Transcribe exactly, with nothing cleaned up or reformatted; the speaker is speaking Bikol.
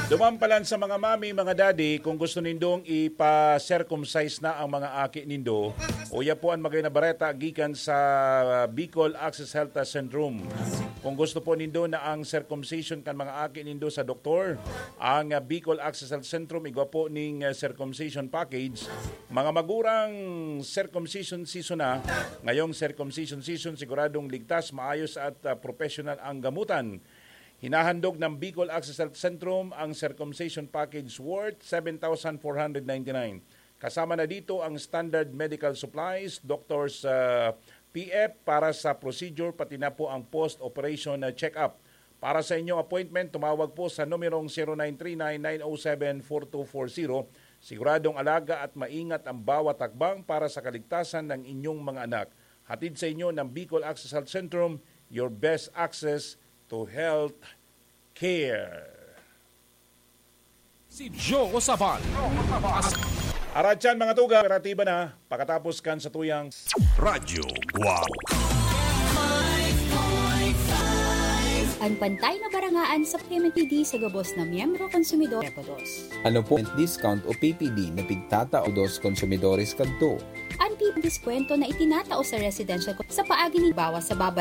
Duman pa lang sa mga mami, mga daddy, kung gusto nindong ipa-circumcise na ang mga aki nindo, uya po ang magay na bareta gikan sa Bicol Access Health Centrum. Kung gusto po nindo na ang circumcision kan mga aki nindo sa doktor, ang, ah, Bicol Access Health Centrum igwa po ning, ah, circumcision package. Mga magurang, circumcision season na. Ngayong circumcision season, siguradong ligtas, maayos at, ah, professional ang gamutan. Hinahandog ng Bicol Access Health Centrum ang circumcision package worth seven thousand four hundred ninety-nine. Kasama na dito ang standard medical supplies, doctor's, ah, P F para sa procedure, pati na po ang post-operation na check-up. Para sa inyong appointment, tumawag po sa numerong zero nine three nine nine oh seven four two four zero. Siguradong alaga at maingat ang bawat hakbang para sa kaligtasan ng inyong mga anak. Hatid sa inyo ng Bicol Access Health Centrum, your best access to health care. Si Joe Sabal. Aratyan, mga tugang, operatiba na pakatapos kan satuyang Radyo Guac. An pantay na barangaan sa P M P D sa gabos na miyembro konsumidor. Ano po ang discount o P P D na pigtatao dos konsumidores kadto? An P P D diskwento na itinatao sa residential sa paagi ni bawas sa babay